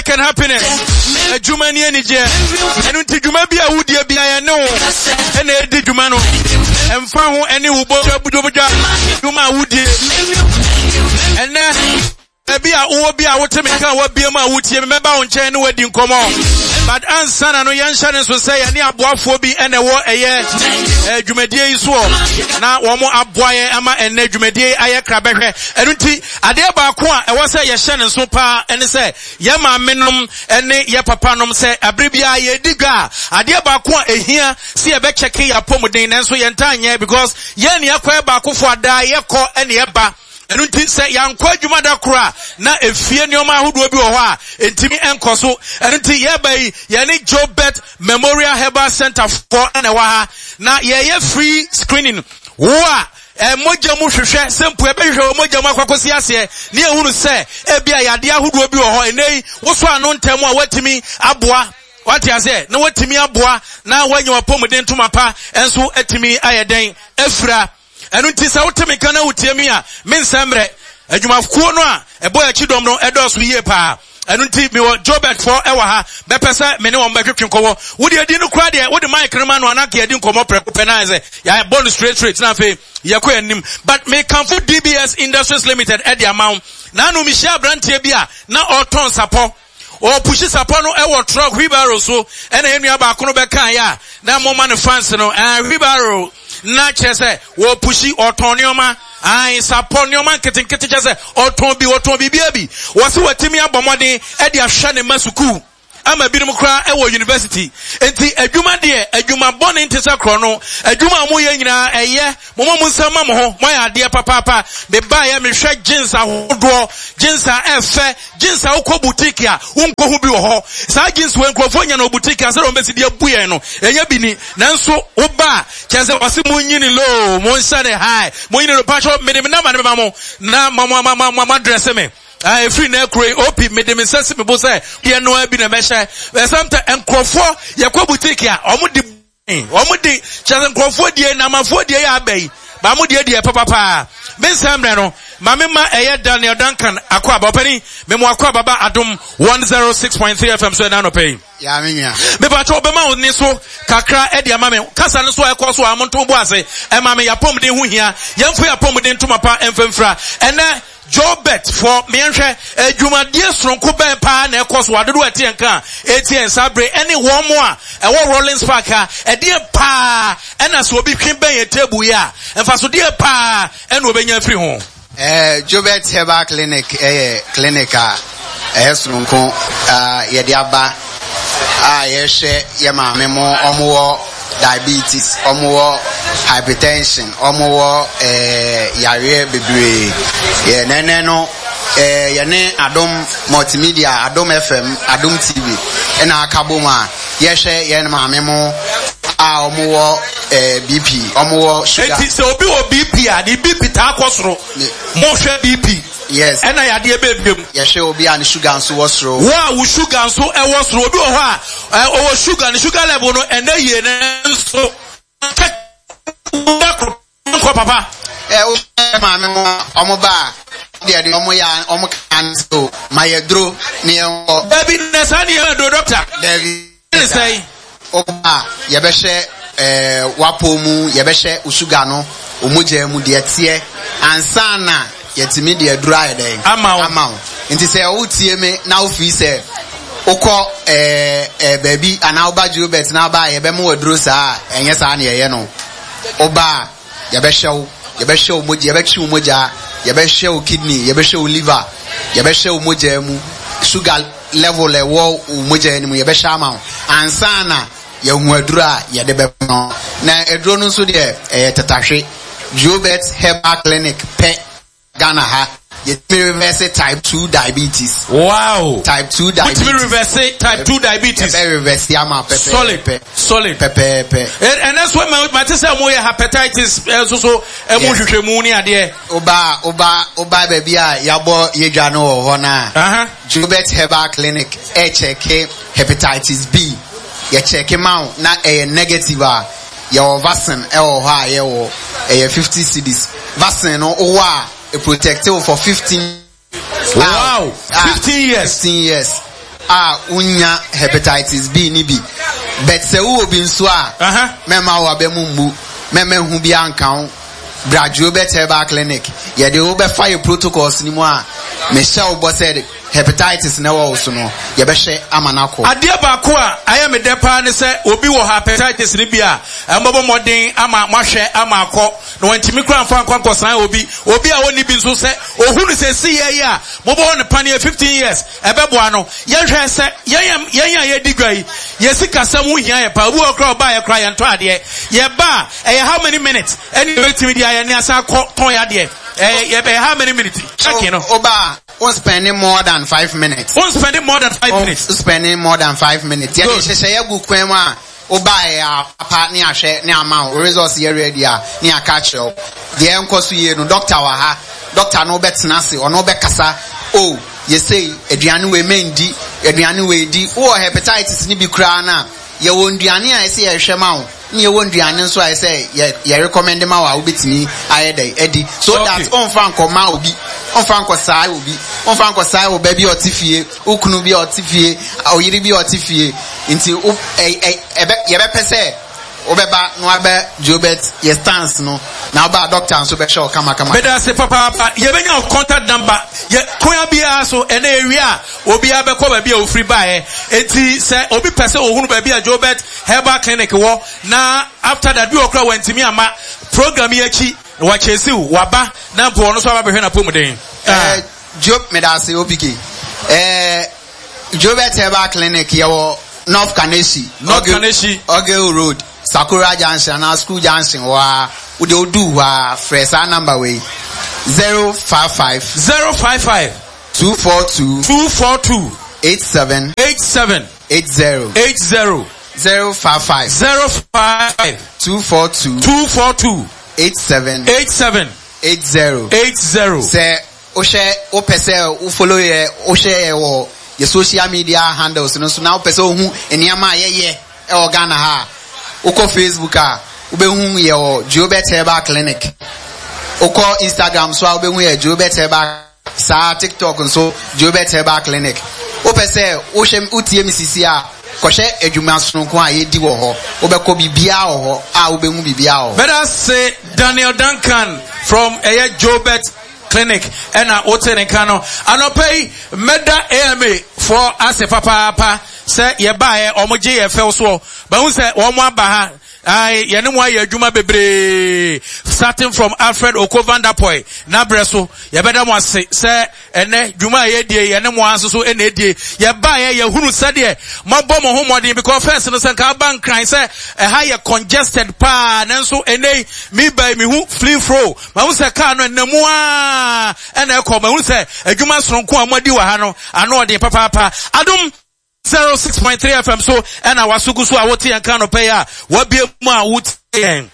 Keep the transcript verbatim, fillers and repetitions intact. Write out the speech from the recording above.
Work and happiness. Adwuma ni anigyeɛ. Ɛno nti dwuma bi a wodie bi a yɛne wo ɛna ɛdi dwuma no. Ɛmfa ho ɛne wo bɔdwa dwuma a wodie. Ɛnɛ ebi a wowɔ bi a wote me nka a wabie mu a wotie me mɛba wo nkyɛn ne wadi nkɔmmɔ. But ansa na no yɛnhyɛ ne nso sɛ yɛne aboafoɔ bi ɛna ɛwɔ ɛyɛ dwumadie yi soɔ na wɔn aboa yɛn ama ɛnɛ dwumadie yi ayɛ krabɛhwɛ. Ɛno nti adeɛ baako a ɛwɔ sɛ yɛhyɛ ne nso paa ɛne sɛ yɛ maame nom ɛne yɛ papa nom sɛ abere biara yɛdi dwa a adeɛ baako a ehia sɛ yɛbɛkyɛke yɛ apɔmuden nanso yɛntaa nyɛ because yɛn ne yɛkɔ yɛ baakofo adaa yɛkɔ ɛne yɛba. Ɛno nti sɛ yɛankɔ adwuma da koro a na efie nneɛma ahodoɔ bi wɔ hɔ a ntumi nkɔ so. Ɛno nti yɛba yi yɛne Jobert Memorial Herbal Center foɔ ɛna ɛwɔ ha na yɛyɛ free screening. Wo a mogya mu hwehwɛ sɛ mpo yɛbɛhwehwɛ wɔ mogya mu akɔkɔsi aseɛ ne yɛhunu sɛ ebi a yadeɛ ahodoɔ bi wɔ hɔ ɛnɛ yi wosɔ ano ntɛm a woatumi aboa wate aseɛ na woatumi aboa na woanya w'apɔmuden ntoma pa nso atumi ayɛ dɛn afira. Ɛno nti sɛ wote me nka na wotie me a mensɛ mmerɛ adwumakuo no a ɛbɔ akyi dɔm no ɛdɔɔso yie paa. Ɛno nti mewɔ Jobert foɔ ɛwɔ ha bɛpɛ sɛ me ne wɔn bɛtwetwe nkɔmmɔ. Wode adi no koraa deɛ wode mic no ma no anaa yɛdi nkɔmmɔ prɛko pɛ na ayɛ sɛ yɛabɔ no straight straight na afei yɛkɔ anim. But mekamfo D B S Industries Limited ɛde ama wo. Na ano mehyia aberanteɛ bi a na ɔretɔn sapɔ. Ɔpushi sapɔ no ɛwɔ truck wheelbarrow so ɛna yɛn nua baako no bɛka yɛ a na moma no fans no ɛɛ wheelbarrow na kyerɛ sɛ wɔpushi ɔtɔn nneɛma ayi sapɔ nneɛma nketenkete kyerɛ sɛ ɔtɔn bi ɔtɔn biribi bi wɔsi wɔtumi abɔ mmɔden ɛde ahwɛ ne ma sukuu ama binom koraa ɛwɔ university. Nti adwuma deɛ adwuma bɔne nte sɛ korɔ no adwuma a moyɛ nyinaa ɛyɛ mo mo nsa ma mo ho moayɛ adeɛ papaapa. Mebaeɛ mehwɛ jeans ahodoɔ jeans a ɛfɛ jeans a wokɔ boutique a wonkɔ ho bi wɔ hɔ. Saa jeans wɔ nkurɔfoɔ nya no boutique a sɛdeɛ wɔbɛsi de abu yɛn no ɛnyɛ bi ni. Nanso woba a kyerɛ sɛ wɔse monyini low monhyɛ ne high monyini low. Patro mede me nama ne bɛma mo na ma mo ma mo ma dress me. Ah, efiri na ekuro yi opi mede me nsa si me bo sɛ deɛ noa bi na mɛhyɛ. Ɛsɛm nkurɔfoɔ yɛkɔ boutique a ɔmo de ɔmo de kyerɛ sɛ nkurɔfoɔ die na amafoɔ die yɛ aba yi ba mo die deɛ papapaa. Me nsa mmerɛ no maame ma ɛyɛ Daniel Duncan akɔ aba ɔpɛni memo akɔ aba ba Adom one oh six point three F M so ɛna anɔpɛ yi. Ya me nua. Mepakyɛw bɛma wo ne so kakra ɛde ama me kasa no so a ɛkɔ so a monto bo ase ɛma me yapɔmuden ho hia yɛmfo yapɔmuden ntoma pa ɛmfɛmfira. Ɛnɛ Jobert for mienhwɛ adwumadie soronko bɛn paa na ɛkɔ so adodo ɛte nka etie nsa bere ɛne wɔn mo a ɛwɔ Rollins Park a ɛdeɛ paa ɛna sɛ obi twe bɛn yɛ table yi a mfasodeɛ paa ɛna obɛnya afiri ho. Eh, Jobert Herbal Clinic ɛyɛ clinic a ɛyɛ soronko a yɛde aba a yɛhwɛ yɛ maame mo ɔmo wɔ diabetes, ɔmo wɔ hypertension, ɔmo wɔ eh, yareɛ bebree. Yɛ nɛnɛ no eh, yɛne Adom Multimedia, Adom F M, Adom T V ɛna aka bom a yɛhwɛ yɛn maame mo a ɔmo wɔ eh, B P, ɔmo wɔ sugar. Eti sɛ obi wɔ B P a ne B P taa kɔ soro. Mo hwɛ B P. Yes. Ɛna yadeɛ bebree mu. Yɛhwɛ obi a ne sugar nso wɔ soro. Wo a wo sugar nso ɛwɔ soro. Obi wɔ hɔ a ɔwɔ sugar, ne sugar level no ɛnɛ yie ne nso. Nkɔ papa. Ɛ o maame mo ɔmo ba a deɛ deɛ ɔmo ya ɔmo kan so ma yɛ duro ne yɛn wɔ. Dabi na saa ne yɛn duro doctor. Dabi. Ne sɛn. Ɔba yɛbɛhyɛ ɛɛ wapo mu yɛbɛhyɛ sugar no omogya mu deɛ teɛ ansa na yɛtumi deɛ duro ayɛ dɛn. Ama wo. Ama wo. Nti sɛ wotie me na wofiri sɛ wokɔ ɛɛ ɛɛ baabi anaa woba Jobert na aba yɛbɛma wo aduro saa ɛnyɛ saa na yɛyɛ no. Woba yɛbɛhyɛ wo yɛbɛhyɛ wo mogya yɛbɛtwe wo mogya yɛbɛhyɛ wo kidney yɛbɛhyɛ wo liver yɛbɛhyɛ wo mogya mu sugar level ɛwɔ wo mogya no mu yɛbɛhyɛ ama wo ansa na yɛhu aduro a yɛde bɛma no. Na aduro no nso deɛ ɛyɛ tetahwe. Jobert Herbal Clinic pɛ Ghana ha yɛtumi reverse type two diabetes. Wow. Type two diabetes. Wotumi reverse type two diabetes. Yɛbɛ reverse ama pɛpɛɛpɛ. Solid. Solid. Pɛpɛɛpɛ. Ɛnɛ so ma ma te sɛ mo yɛ hepatitis ɛso so ɛmu hwehwɛ mu ne adeɛ. Oba oba oba baabi a yabɔ yedwa no wɔ hɔ na. Uh-huh. Jobert Herbal Clinic ɛkyɛke hepatitis B. Yɛkyɛke ma wo na ɛyɛ negative a yɛwɔ vaccine ɛwɔ hɔ a yɛwɔ ɛyɛ fifty cedis. Vaccine no wɔ a it protect you for fifteen. Wow, Ah, fifteen years. fifteen years. A wonya hepatitis B ni bi. But sɛ wowɔ bi nso a, mɛma wo abɛ mu mmu, mɛma hu bi anka wo. Bra Joebert Herbal Clinic, yɛde wo bɛfa yɛ protocols ni mu a, mehyɛ wo bɔ sɛ hepatitis na ɛwɔ wo so no, yɛbɛhwɛ ama no akɔ. Adeɛ baako a ayɛ me dɛ paa ne sɛ obi wɔ hepatitis no bi a, ɛmbɔbɔ mmɔden ama moahwɛ ama akɔ, na wantumi koraa mfa nkɔ nkɔsan obi. Obi a ɔnni bi nso sɛ ohunu sɛ si yɛ yi a, mobɔ ne paneɛ fifteen years, ɛbɛboa no. Yɛhwɛ sɛ yɛn yɛn a yɛdi dwa yi, yɛ sikasɛm ho hia yɛ paa. Obi wɔ koraa ɔbaa yɛ koraa yɛntɔ adeɛ. Yɛba a, ɛyɛ how many minutes ɛne yɛbɛtumi de ayɛ ne asan akɔ tɔn yɛ adeɛ? Ɛyɛ ɛyɛ how many minutes? Checking no. Oba, won spending more than five minutes. Won spending more than five minutes. Won spending more than five minutes. Yɛde hyehyɛ yɛ gu kwan mu a, oba yɛ apa ne ahwɛ ne ama wo results yɛ ready a ne aka kyerɛ wo. Deɛ nkɔ so yie no, doctor wɔ ha. Doctor no bɛtena ase, ɔno bɛkasa. Oh, yɛsei aduane wei mendi, aduane wei di. Wowɔ hepatitis ne bi koraa na yɛwɔ nduane a ɛsɛ yɛhwɛ ma wo. Ne yɛwɔ nduane nso a ɛsɛ yɛ yɛ recommend ma wo a wobɛtumi ayɛ dɛ adi. So okay. That ɔmfa nkɔma obi, ɔmfa nkɔsae obi, ɔmfa nkɔsae wo ba bi a ɔte fie, wo kunu bi a ɔte fie, ɔyere bi a ɔte fie. Nti wo ɛ ɛ ɛbɛ yɛbɛpɛ sɛ wobɛba na wabɛ Joebert yɛ stance no na woba doctor nso bɛhwɛ wo kamakama. Bɛda ase papaapa. Yɛbɛnya wo contact number. Yɛ kwan biara so ɛnɛ ewie a obiara bɛkɔ baabi a ofiri baeɛ. Enti sɛ obi pɛ sɛ ohunu baabi a Joebert Herbal Clinic wɔ na after that bi wɔ koraa wantumi amma program yi akyi na wakyɛsiw waba na mpo ɔno nso aba bɛhwɛ n'apɔmuden. Eh, Job medase O P K. Eh, Joebert Herbal Clinic yɛwɔ North Kaneshie. North Kaneshie. Ogil Road, Sakura Junction anaa School Junction hɔ a, wode odu hɔ a, frɛ saa number wei. zero five five zero five five two four two two four two eight seven eight seven eight zero. eight zero. zero five five zero five five two four two two four two eight seven eight seven eight zero. eight zero. Sɛ wohwɛ wopɛ sɛ wo follow yɛ, wohwɛ yɛ wɔ yɛ social media handles no so na wopɛ sɛ wohu nneɛma a yɛyɛ ɛwɔ Ghana ha a, wokɔ Facebook a, wobɛhu yɛ wɔ Joebert Herbal Clinic. Wokɔ Instagram so a, wobɛhu yɛ Joebert Herbal saa, TikTok nso Joebert Herbal Clinic. Wopɛ sɛ wohwɛ wotie me sisi a, kɔhwɛ adwuma sononko a yɛdi wɔ hɔ. Wobɛkɔ biribiara wɔ hɔ a wobɛhu biribiara wɔ hɔ. Bɛda se Daniel Duncan from ɛyɛ Joebert Clinic ɛna wote ne nka no. Anɔpɛ yi mɛda A M A foɔ ase papaapa sɛ yɛbaeɛ ɔmo gye yɛ fɛw soɔ. Bahu sɛ wɔn aba ha. Ayi, yɛne mo ayɛ adwuma bebree starting from Alfred Oko Vanderpuye n'abrɛ so. Yɛbɛda mo ase sɛ ɛnɛ dwuma a yɛdie yɛne mo nso so ɛna edie. Yɛbaeɛ yɛhunu sɛdeɛ moabɔ mo ho mmɔden because first no sɛ nka aba Nkran sɛ ɛha yɛ congested paa, nanso ɛnɛ yi meba yi mehu free flow. Mahu sɛ kaa no ɛnam mu aa ɛna ɛkɔ. Mahu sɛ adwuma soronko a moadi wɔ ha no ano ɔden papaapa. Adom zero six point three F M so ɛna waso gu so a wote yɛn ka no pɛ yi a wabie mu a wote yɛn.